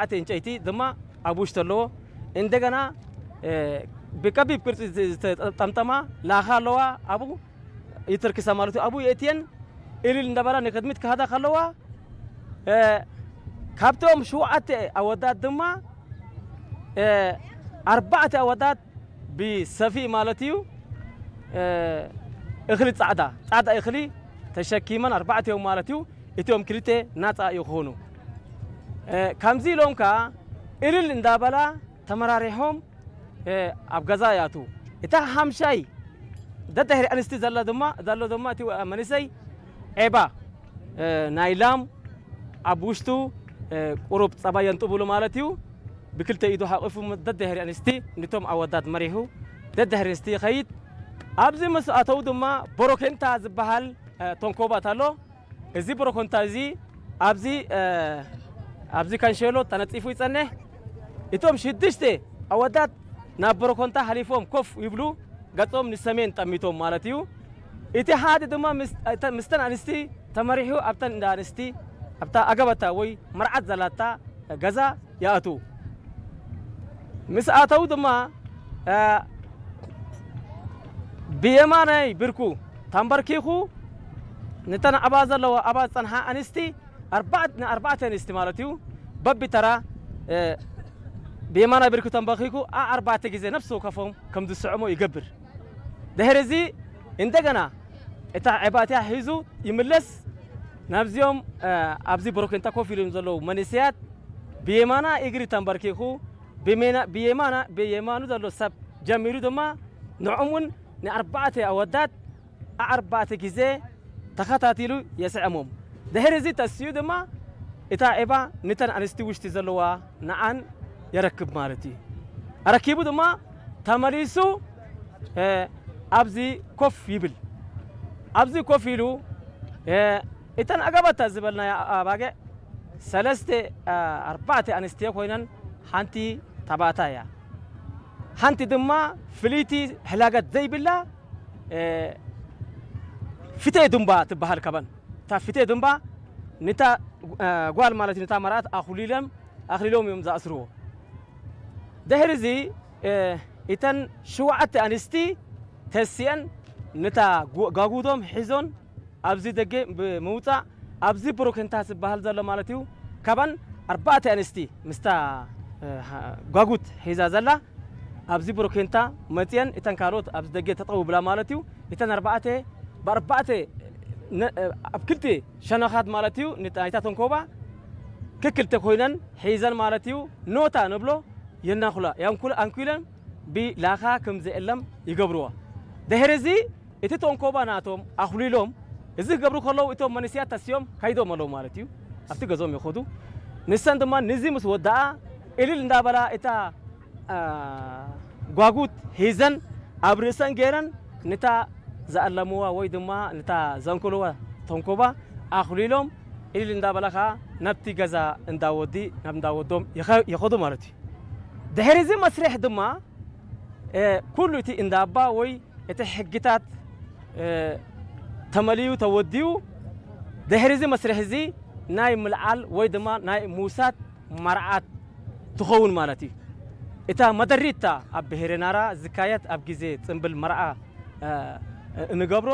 ዓተ ዕንጨይቲ ድማ ኣብ ውሽጢ ኣለዎ። እንደገና ብከቢብ ቅርፂ ዝተጠምጠማ ላኻ ኣለዋ። ኣብኡ ይትርክሳ ማለት እዩ። ኣብኡ የእትየን እልል እንዳበላ ንቅድሚት ክሃዳ ከለዋ፣ ካብቶም ሸውዓተ ኣወዳት ድማ ኣርባዕተ ኣወዳት ብሰፍኢ ማለት እዩ፣ እኽሊ ፃዕዳ ፃዕዳ እኽሊ ተሸኪመን ኣርባዕቲኦም ማለት እዩ። እቲኦም ክልተ ናፃ ይኾኑ። ከምዚ ኢሎም ከዓ እልል እንዳበላ ተመራሪሖም ኣብ ገዛ ያቱ። እታ ሓምሻይ ደድሕሪ ኣንስቲ ዘላ ድማ ዘሎ ድማ እቲ መንእሰይ ዔባ ናይ ላም ኣብ ውሽጡ ቁሩብ ጸባ የንጥብሉ ማለት እዩ። ብክልተ ኢዱ ሓቂፉ ደድሕሪ ኣንስቲ ንቶም ኣወዳት መሪሑ ደድሕሪ ኣንስቲ ይኸይድ። ኣብዚ ምስ ኣተው ድማ ቦሮኬንታ ዝበሃል ተንኮባት ኣሎ። እዚ ቦሮኮንታ እዚ ኣብዚ ኣብዚ ካንሸሎ ተነጺፉ ይጸንሕ። እቶም ሽዱሽተ ኣወዳት ናብ ቦሮኮንታ ሓሊፎም ኮፍ ይብሉ፣ ገጾም ንሰሜን ጠሚቶም ማለት እዩ። እቲ ሓደ ድማ ምስተን ኣንስቲ ተመሪሑ ኣብተን እንዳ ኣንስቲ ኣብታ ኣገባታ ወይ መርዓት ዘላታ ገዛ ይኣትዉ። ምስ ኣተዉ ድማ ብየማናይ ብርኩ ተንበርኪኹ ንተን ኣባ ዘለዋ ኣባ ዝጸንሓ ኣንስቲ ንኣርባዕተ ኣንስቲ ማለት እዩ በቢተራ ብየማናይ ብርኩ ተንበርኪኹ ኣርባዕተ ግዜ ነፍሲ ወከፎም ከም ዝስዕሞ ይገብር። ድሕሪ እዚ እንደገና እታ ዕባእትያ ሒዙ ይምለስ። ናብዚኦም ኣብዚ ብሮኬንታ ኮፍ ኢሎም ዘለዉ መንእሰያት ብየማና እግሪ ተንበርኪኹ ብየማና ብየማኑ ዘሎ ሰብ ጀሚሩ ድማ ንዕም እውን ንኣርባዕተ ኣወዳት ኣርባዕተ ግዜ ተኸታቲሉ የስዕሞም። ድሕሪ እዚ ተሲኡ ድማ እታ ዒባ ንተን ኣንስቲ ውሽጢ ዘለዋ ንዓን የረክብ ማለት እዩ። ኣረኪቡ ድማ ተመሊሱ ኣብዚ ኮፍ ይብል። ኣብዚ ኮፍ ኢሉ እተን ኣገባታ ዝበልናያ ኣባግዕ ሰለስተ ኣርባዕተ ኣንስትዮ ኮይነን ሓንቲ ተባእታ እያ። ሓንቲ ድማ ፍልይቲ ሕላገት ዘይብላ ፍቴ ድምባ ትበሃል። ካባን እታ ፍቴ ድምባ ንታ ጓል ማለት ንታ መርኣት ኣኹሊሎም ኣኽሊሎም እዮም ዝኣስርዎ። ድሕሪ እዚ እተን ሽውዓተ ኣንስቲ ተሲአን ነታ ጓጉቶም ሒዞን ኣብዚ ደገ ብምውፃእ ኣብዚ ብሮኬንታ ዝበሃል ዘሎ ማለት እዩ። ካባን ኣርባዕተ ኣንስቲ ምስታ ጓጉት ሒዛ ዘላ ኣብዚ ብሮኬንታ መፅየን እተን ካልኦት ኣብዚ ደገ ተጠው ብላ ማለት እዩ። እተን ኣርባዕተ ብኣርባዕተ ኣብ ክልተ ሸነኻት ማለት እዩ ናይታ ተንኮባ ክክልተ ኮይነን ሒዘን ማለት እዩ ኖታ ንብሎ የናኹላ ኣንኩለን ብላኻ ከም ዘየለም ይገብርዋ። ድሕሪ እዚ እቲ ተንኮባ ናቶም ኣኹሊሎም እዚ ክገብሩ ከለዉ እቶም መንእሰያት ተሲኦም ከይዶም ኣለዉ ማለት እዩ። ኣብቲ ገዞም ይኸዱ። ንሰን ድማ ንዚ ምስ ወዳኣ እልል እንዳበላ እታ ጓጉት ሒዘን ኣብ ርእሰን ገይረን ንታ ዝኣለምዋ ወይ ድማ ንታ ዘንክልዋ ተንኮባ ኣኹሊሎም እልል እንዳበላ ከዓ ናብቲ ገዛ እንዳወዲ ናብ እንዳወዶም ይኸዱ ማለት እዩ። ድሕሪ እዚ መስርሕ ድማ ኩሉ እቲ እንዳባ ወይ እቲ ሕግታት ተመልዩ ተወዲኡ ድሕሪ እዚ መስርሕ እዚ ናይ ምልዓል ወይ ድማ ናይ ምውሳድ መርዓት ትኸውን ማለት እዩ። እታ መደሪታ ኣብ ብሄረ ናራ ዝካየድ ኣብ ግዜ ጽምብል መርዓ እንገብሮ